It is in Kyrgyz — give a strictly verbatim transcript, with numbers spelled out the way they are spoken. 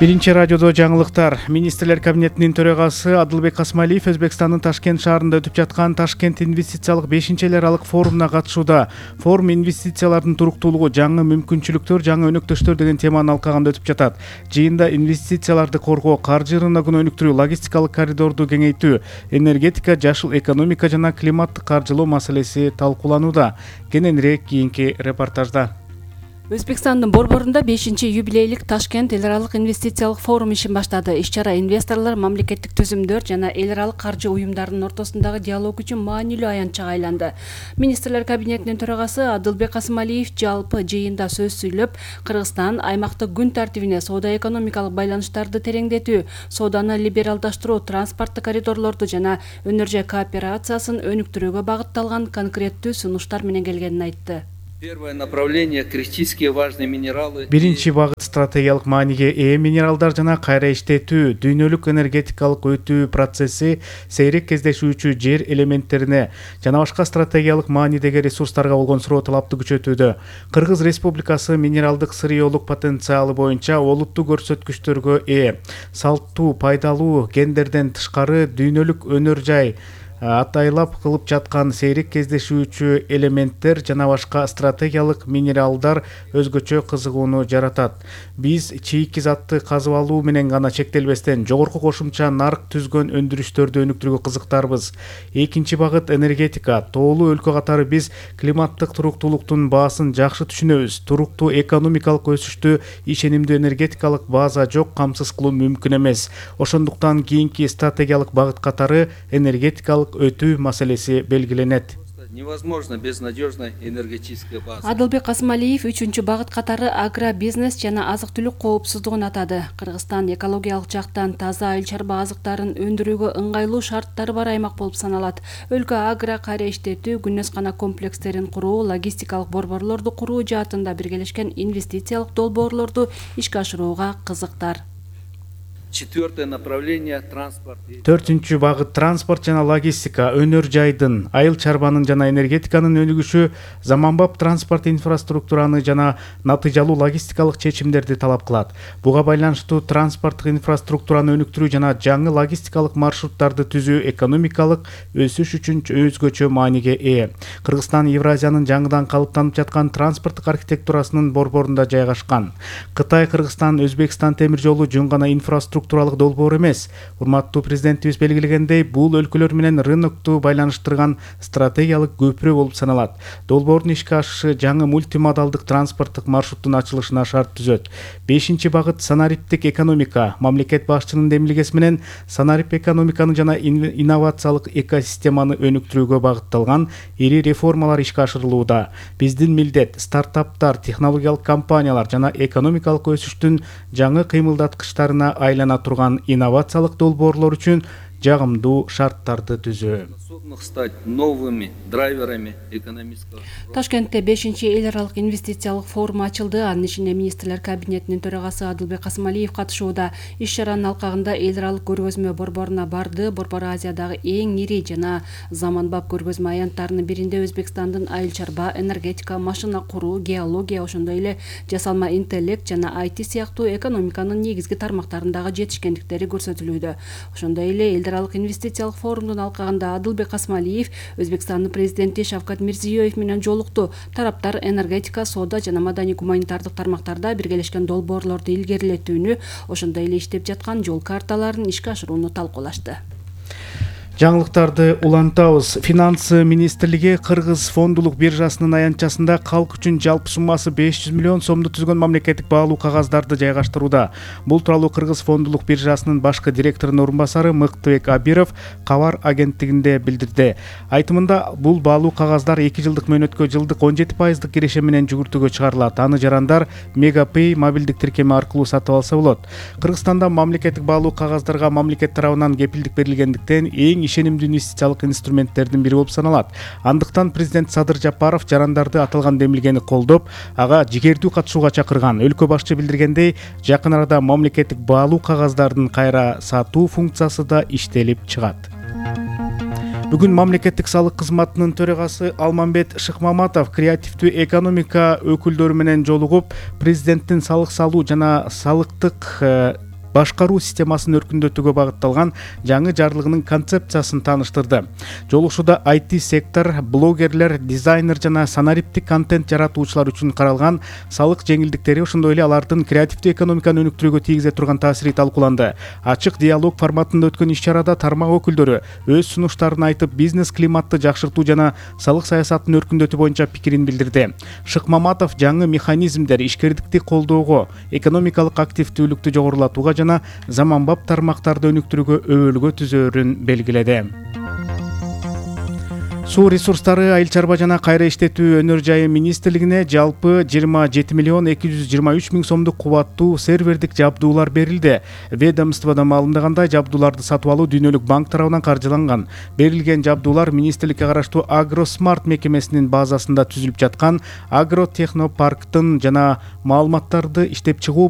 Биринчи радиодо жаңылыктар. Министрлер кабинетинин төрагасы Адылбек Касмалиев Өзбекстандын Ташкент шаарында өтүп жаткан Ташкент инвестициялык бешинчи эл аралык форумуна катышууда. Форум инвестициялардын туруктуулугу, жаңы мүмкүнчүлүктөр, жаңы өнөктөштөр деген теманы алкаганда өтүп жатат. Жыйында инвестицияларды коргоо, каржы рыногун өнүктүрүү, логистикалык коридорду кеңейтүү, энергетика, жашыл экономика жана климаттык каржылоо маселеси талкууланууда. Кененирээк кийинки репортажда. Өзбекстандын Борборунда бешинчи юбилейлик Ташкент эл аралык инвестициялык форум ишин баштады. Иш-чара инвесторлор, мамлекеттик түзүмдөр жана эл аралык каржы уюмдарынын ортосундагы диалог үчүн маанилүү аянтчага айланды. Министрлер кабинетинин төрагасы Адылбек Касмалиев жалпы жыйында сөз сүйлөп, Кыргызстан аймактык күн тартибине соода-экономикалык байланыштарды тереңдетүү, сооданы либералдаштыруу, транспорттук коридорлорду жана өнөр жай кооперациясын өнүктүрүүгө багытталган конкреттүү сунуштар менен келгенин айтты. Первое направление — критически важные минералы. Биринчи багыт стратегиялык мааниге ээ минералдар жана кайра иштетүү, дүйнөлүк энергетикалык өтүү процесси, сейрек кездешүүчү жер элементтерине жана башка стратегиялык маанидеги ресурстарга болгон суроо талапты күчөтүүдө. Кыргыз Республикасы минералдык сырьеолук потенциалы боюнча олуттуу көрсөткүчтөргө ээ. Салттуу, пайдалуу, гендерден тышкары дүйнөлүк өнөр жай атайлап кылып жаткан сейрек кездешүүчү элементтер жана башка стратегиялык минералдар өзгөчө кызыгууну жаратат. Биз чийки затты казып алуу менен гана чектелбестен жогорку кошумча нарк түзгөн өндүрүштөрдү өнүктүрүүгө кызыктарбыз. Экинчи багыт — энергетика. Тоолуу өлкө катары биз климаттык туруктуулуктун баасын жакшы түшүнөбүз. Туруктуу экономикалык өсүштү ишенимдүү энергетикалык база жок камсыз кылуу мүмкүн эмес. Ошондуктан кийинки стратегиялык багыт катары энергетикалык өтүү маселеси белгиленет. Невозможно без надежной энергетической базы. Адылбек Касмалиев үчүнчү багыт катары агробизнес жана азык-түлүк коопсуздугун атады. Кыргызстан экологиялык жактан таза айыл чарба азыктарын өндүрүүгө ыңгайлуу шарттары бар аймак болуп саналат. Өлкө агро кайра иштетүү, күнөскана комплекстерин куруу, логистикалык борборлорду куруу жаатында биргелешкен инвестициялык долбоорлорду ишке ашырууга кызыктар. Четвертое направление — транспорт. Төртүнчү багыт — транспорт жана логистика. Өнөр жайдын, айыл чарбанын жана энергетиканын өнүгүшү заманбап транспорт инфраструктураны жана натыйжалуу логистикалык чечимдерди талап кылат. Буга байланыштуу транспорттук инфраструктураны өнүктүрүү жана жаңы логистикалык маршруттарды түзүү экономикалык өсүш үчүн өзгөчө мааниге ээ. Кыргызстан Евразиянын жаңыдан калыптанып жаткан транспорттук архитектурасынын борборунда жайгашкан. Кытай, Кыргызстан, Өзбекстан темир жолу жөн гана инфраструктура структуралык долбоор эмес. Урматтуу президентибиз белгилегендей, бул өлкөлөр менен рынокту байланыштырган стратегиялык көпүрө болуп саналат. Долбоордун ишке ашышы жаңы мультимодалдык транспорттук маршруттун ачылышына шарт түзөт. Бешинчи багыт — санариптик экономика. Мамлекет башчынын демилгеси менен санарип экономиканы жана инновациялык экосистеманы өнүктүрүүгө багытталган ири реформалар ишке ашырылууда. Биздин милдет стартаптар, технологиялык компаниялар жана экономикалык өсүштүн жаңы кыймылдаткычтарына айлана турган инновациялык долбоорлор үчүн жагымдуу шарттарды түзүү. Стать новыми драйверами экономического. Ташкентте бешинчи эл аралык инвестициялык форум ачылды. Анын ичинде министрлер кабинетинин төрагасы Адылбек Касмалиев катышууда. Иш-чаранын алкагында эл аралык көргөзмө борборуна барды. Борбор Азиядагы эң ири жана заманбап көргөзмө аянттарынын биринде Өзбекстандын айыл чарба, энергетика, машина куруу, геология, ошондой эле жасалма интеллект жана ай ти сыяктуу экономиканын негизги тармактарындагы жетишкендиктери көрсөтүлүүдө. Ошондой эле эл аралык инвестициялык форумдун алкагында Адылбек Касмалиев Өзбекстандын президенти Шавкат Мирзиёев менен жолукту. Тараптар энергетика, соода жана маданий гуманитардык тармактарда биргелешкен долбоорлорду илгерилетүүнү, ошондой эле иштеп жаткан жол карталарын ишке ашырууну талкуулашты. Жаңылыктарды улантабыз. Финансы министрлиги Кыргыз фондулук биржасынын аянтчасында калк үчүн жалпы суммасы беш жүз миллион сомду түзгөн мамлекеттик баалуу кагаздарды жайгаштырууда. Бул тууралуу Кыргыз фондулук биржасынын башкы директорунун орун басары Мыктыбек Абиров Кабар агенттигинде билдирди. Айтымында, бул баалуу кагаздар эки жылдык мөөнөткө жылдык он жети пайыздык киреше менен жүгүртүүгө чыгарылат. Аны жарандар Мегапэй мобилдик тиркеми аркылуу сатып алса болот. Кыргызстанда мамлекеттик баалуу кагаздарга мамлекет тарабынан кепилдик берилгендиктен эң ишенимдүү инвестициялык инструменттердин бири болуп саналат. Андыктан президент Садыр Жапаров жарандарды аталган демилгени колдоп, ага жигердүү катышууга чакырган. Өлкө башчы билдиргендей, жакын арада мамлекеттик баалуу кагаздардын кайра сатуу функциясы да иштелип чыгат. Бүгүн мамлекеттик салык кызматынын төрагасы Алмамбет Шыкмаматов креативдүү экономика өкүлдөрү менен жолугуп, президенттин салык салуу жана салыктык башкаруу системасын өркүндөтүүгө багытталган жаңы жарлыгынын концепциясын тааныштырды. Жолугушууда ай ти сектор, блогерлер, дизайнер жана санариптик контент жаратуучулар үчүн каралган салык жеңилдиктери, ошондой эле алардын креативдүү экономиканы өнүктүрүүгө тийгизе турган таасири талкууланды. Ачык диалог форматында өткөн иш-чарада тармак өкүлдөрү өз сунуштарын айтып, бизнес климатты жакшыртуу жана салык саясатын өркүндөтүү боюнча пикирин билдирди. Шыкмаматов жаңы механизмдер ишкердикти колдоого, экономикалык активдүүлүктү жогорулатууга жана заманбап тармактарды өнүктүрүүгө өбөлгө түзөөрүн белгиледи. Суу ресурстары, айыл чарба жана кайра иштетүү өнөр жайы министрлигине жалпы жыйырма жети миллион эки жүз жыйырма үч миң сомдук кубаттуу сервердик жабдуулар берилди. Ведомстводо маалымдагандай, жабдууларды сатып алуу Дүйнөлүк банк тарабынан каржыланган. Берилген жабдуулар министрликке караштуу Агросмарт мекемесинин базасында түзүлүп жаткан Агротехнопарктын жана маалыматтарды иштеп чыгуу